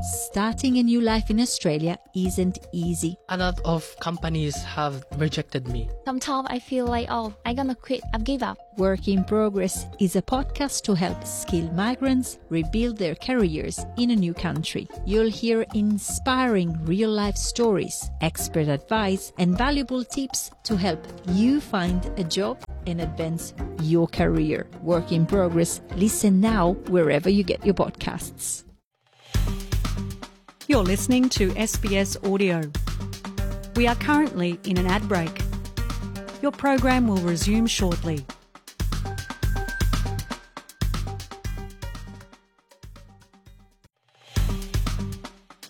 Starting a new life in Australia isn't easy. A lot of companies have rejected me. Sometimes I feel like, I'm gonna quit, I've give up. Work in Progress is a podcast to help skilled migrants rebuild their careers in a new country. You'll hear inspiring real-life stories, expert advice, and valuable tips to help you find a job and advance your career. Work in Progress. Listen now wherever you get your podcasts. You're listening to SBS Audio. We are currently in an ad break. Your program will resume shortly.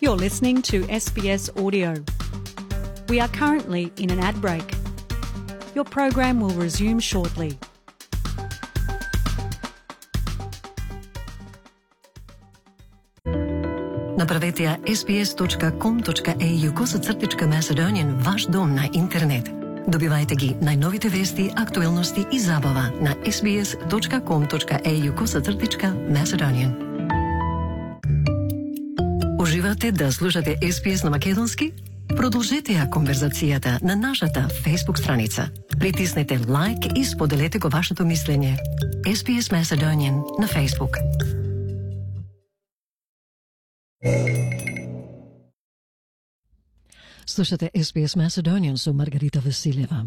You're listening to SBS Audio. We are currently in an ad break. Your program will resume shortly. Направете ја sbs.com.au/Macedonian ваш дом на интернет. Добивајте ги најновите вести, актуелности и забава на sbs.com.au/Macedonian. Уживате да слушате SBS на македонски? Продолжете ја конверзацијата на нашата Facebook страница. Притиснете лайк и споделете го вашето мислење. SBS Macedonian на Facebook. Слушате SBS Macedonian со Маргарита Василева.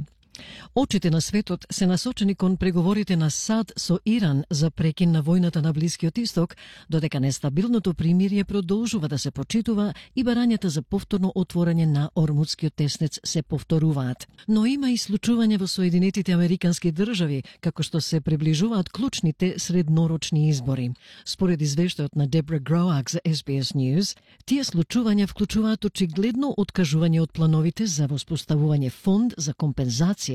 Очите на светот се насочени кон преговорите на САД со Иран за прекин на војната на Блискиот Исток, додека нестабилното примирие продолжува да се почитува и барањата за повторно отворање на Ормудскиот теснец се повторуваат. Но има и случување во Соединетите Американски држави, како што се приближуваат клучните среднорочни избори. Според извештајот на Дебра Гроак за SBS News, тие случувања вклучуваат очигледно откажување од плановите за воспоставување фонд за компензација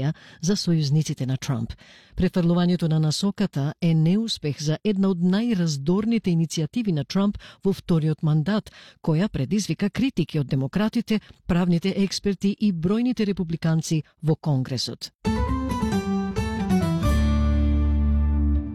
за сојузниците на Трамп. Префрлувањето на насоката е неуспех за една од најраздорните иницијативи на Трамп во вториот мандат, која предизвика критики од демократите, правните експерти и бројните републиканци во Конгресот.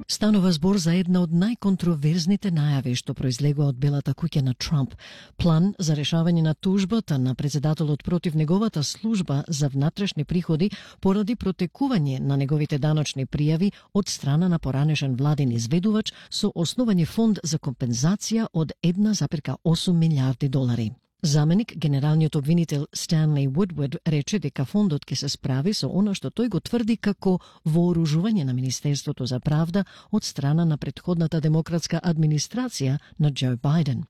Станува збор за една од најконтроверзните најави што произлегува од Белата куќа на Трамп. План за решавање на тужбата на председателот против неговата служба за внатрешни приходи поради протекување на неговите даночни пријави од страна на поранешен владин изведувач со основање фонд за компензација од 1,8 милиарди долари. Заменик генералниот обвинител Stanley Woodward рече дека фондот ќе се справи со она што тој го тврди како вооружување на Министерството за правда од страна на претходната демократска администрација на Џо Бајден.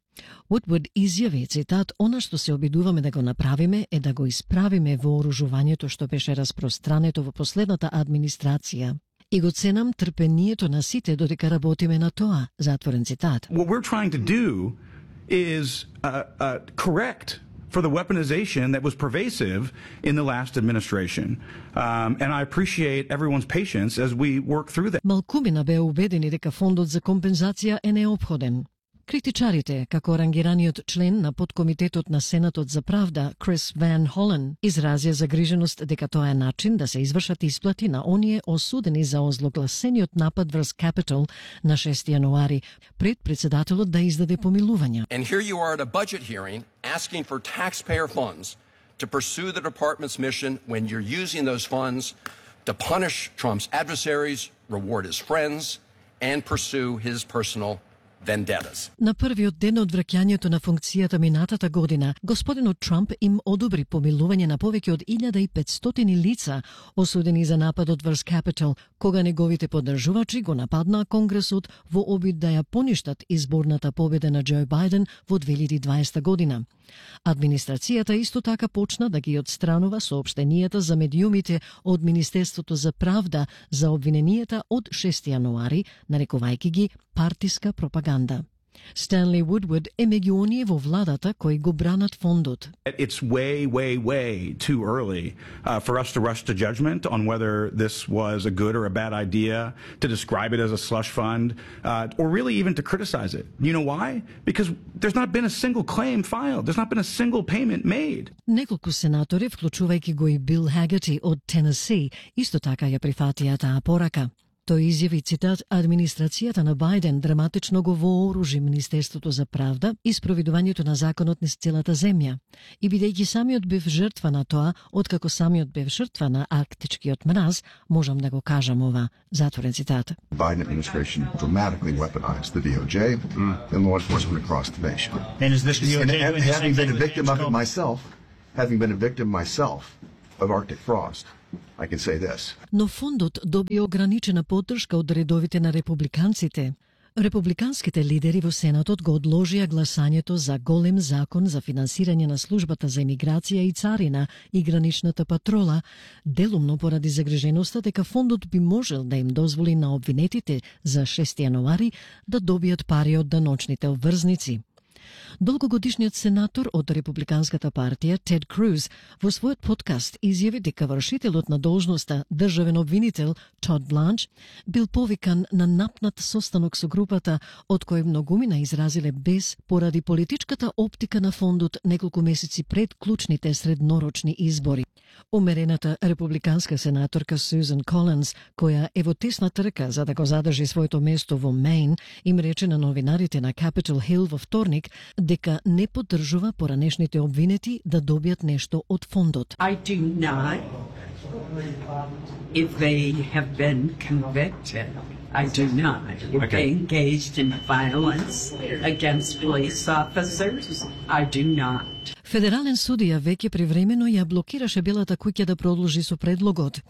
Woodward изјави, цитат, она што се обидуваме да го направиме е да го исправиме вооружувањето што беше распространето во последната администрација. И го ценам трпението на сите додека работиме на тоа, затворен цитат. What we're trying to do is correct for the weaponization that was pervasive in the last administration. And I appreciate everyone's patience as we work through that. Малкумина беа убедени дека фондот за компензација е неопходен. Критичарите, како рангираниот член на подкомитетот на Сенатот за правда, Крис Ван Холен, изразија загриженост дека тоа е начин да се извршат исплати на оние осудени за озлогласениот напад врз Capitol на 6 јануари, пред председателот да издаде помилувања. And here you are at a budget hearing asking for taxpayer funds to pursue the department's mission when you're using those funds to punish Trump's adversaries, reward his friends, and pursue his personal vendettas. На првиот ден од враќањето на функцијата минатата година, господинот Трамп им одобри помилување на повеќе од 1500 лица осудени за нападот врз Capitol, кога неговите поддржувачи го нападнаа Конгресот во обид да ја поништат изборната победа на Џо Бајден во 2020 година. Администрацијата исто така почна да ги отстранува соопштенијата за медиумите од Министерството за правда за обвиненијата од 6 јануари, нарекувајќи ги партиска пропаганда. Stanley Woodward е меѓу оние во владата кои го бранат фондот. It's way too early for us to rush to judgment on whether this was a good or a bad idea, to describe it as a slush fund, or really even to criticize it. You know why? Because there's not been a single claim filed. There's not been a single payment made. Неколку сенатори, вклучувајќи го и Бил Хагерти од Тенеси, исто така ја прифатија таа порака. Тој изјави, цитат, администрацијата на Бајден драматично го вооружи Министерството за правда и спроведувањето на законот низ целата земја. И бидејќи самиот бев жртва на тоа, откако самиот бев жртва на арктичкиот мраз, можам да го кажам ова. Затворен цитат. Biden administration dramatically weaponized the DOJ and law enforcement across the nation. And is this DOJ And having been a victim of it myself, of Arctic frost, I can say this. Но фондот доби ограничена поддршка од редовите на републиканците. Републиканските лидери во Сенатот го одложија гласањето за голем закон за финансирање на службата за емиграција и царина и граничната патрола, делумно поради загриженоста дека фондот би можел да им дозволи на обвинетите за 6 јануари да добијат пари од даночните обврзници. Долгогодишниот сенатор од Републиканската партија Тед Круз во својот подкаст изјави дека вршителот на должноста државен обвинител Тод Бланч бил повикан на напнат состанок со групата од кој многумина изразиле бес поради политичката оптика на фондот неколку месеци пред клучните среднорочни избори. Умерената републиканска сенаторка Сюзан Колинс, која е во тесна трка за да го задржи своето место во Мејн, им рече на новинарите на Capitol Hill во вторник дека не поддржува поранешните обвинети да добијат нешто од фондот. I do not. If they have been convicted, I do not. If they engaged in violence against police officers, I do not. Федерален судија веќе привремено ја блокираше Белата куќа да продолжи со предлогот.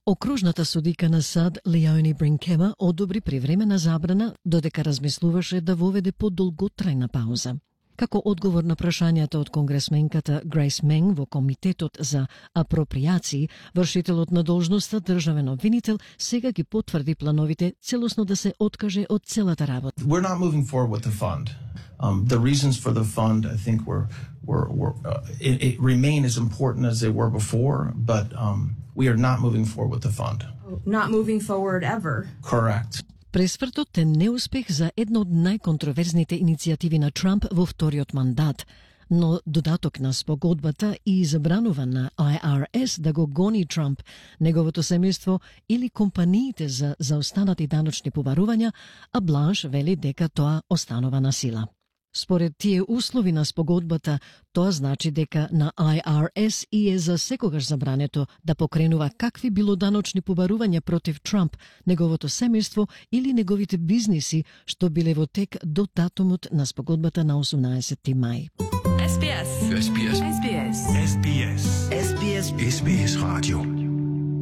Окружната судика на САД Леони Бринкема одобри привремена забрана додека размислуваше да воведе подолготрајна пауза. Како одговор на прашањата од конгресменката Грейс Менг во Комитетот за апропријации, вршителот на должноста државен обвинител сега ги потврди плановите целосно да се откаже од целата работа. We're not moving forward with the fund. The reasons for the fund, I think, it remain as important as they were before, but we are not moving forward with the fund. Not moving forward ever. Correct. Пресвртот е неуспех за една од најконтроверзните иницијативи на Трамп во вториот мандат, но додаток на спогодбата и забранува на IRS да го гони Трамп, неговото семејство или компаниите за заостанати даночни побарувања, а Бланш вели дека тоа останува на сила. Според тие услови на спогодбата, тоа значи дека на IRS и е за секогаш забрането да покренува какви било даночни побарувања против Трамп, неговото семејство или неговите бизниси, што биле во тек до датумот на спогодбата на 18 мај. SBS. SBS. SBS. SBS. SBS. SBS Radio.